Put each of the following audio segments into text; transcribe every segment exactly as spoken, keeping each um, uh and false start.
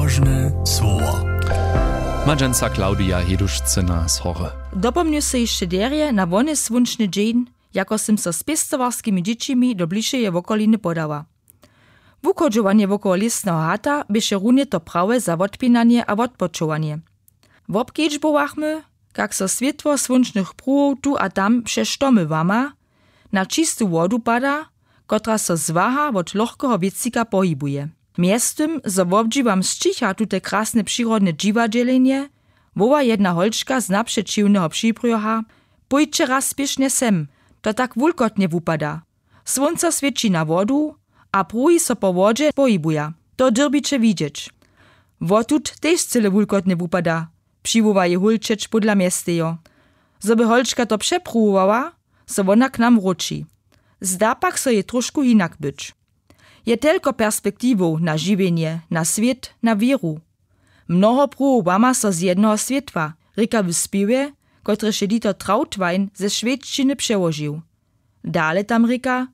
Ważne słowa. Madźenca Klaudia Hedušcyna z Hory. Dopomnju so hišće derje na wony słónčny dźeń, jako sym so z pěstowarskimi dźěćimi do blišeje wokoliny podała. Wuchodźowanje wokoło lěsneho hata běše runje to prawe za wotpinanje a wotpočowanje. Wobkedźbowachmy, kak so swětło słónčnych pruhow tu a tam přez štomy łama, na čistu wodu pada, kotraž so zwaha wot lochkeho wětřika pohibuje. Mjeztym zo wobdźiwam sćicha tute krasne přirodne dźiwadźelenje, woła jedna holčka z napřećiwneho přibrjoha: „Pójće raz spěšnje sem, to tak wulkotnje wupada. Słónco swěći na wodu a pruhi so po wodźe pohibuja. To dyrbiće widźeć.“ „Wotud tež cyle wulkotnje wupada,“ přiwoła jej hólčeć pódla mjestejo. Zo by holčka to přepruwowała, so wona k nam wróći. Zda pak so jej tróšku hinak być. Je telko perspektiwow na žiwjenje, na swět, na wěru. „Mnoho pruhow łama so z jednoho swětła,“ rěka w spěwje, kotryž je Dieter Trautwein ze šwedšćiny přełožił. Dale tam rěka: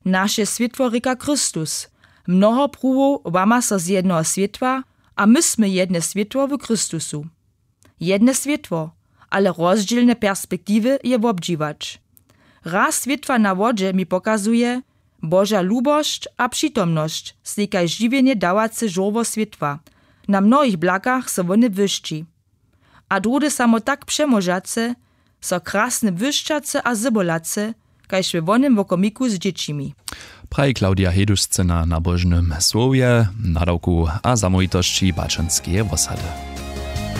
„Naše swětło rěka Chrystus. Mnoho pruhow łama so z jednoho swětła, a my smy jedne swětło w Chrystusu.“ Jedne swětło, ale rozdźělne perspektiwy je wobdźiwać. Raz swětła na wodźe mi pokazuje, Boža lubosć a přitomnosć stej kaž žiwjenje dawace žórło swětła na mnohich blakach so wone błyšći. A druhdy samo tak přemóžace, so krasne błyšćace a zybolace, kaž we wonym wokomiku z dźěćimi. Praji Klaudia Hedušcyna na Božnym słowje, nadawku a zamołwitosći Baćanskeje wosady.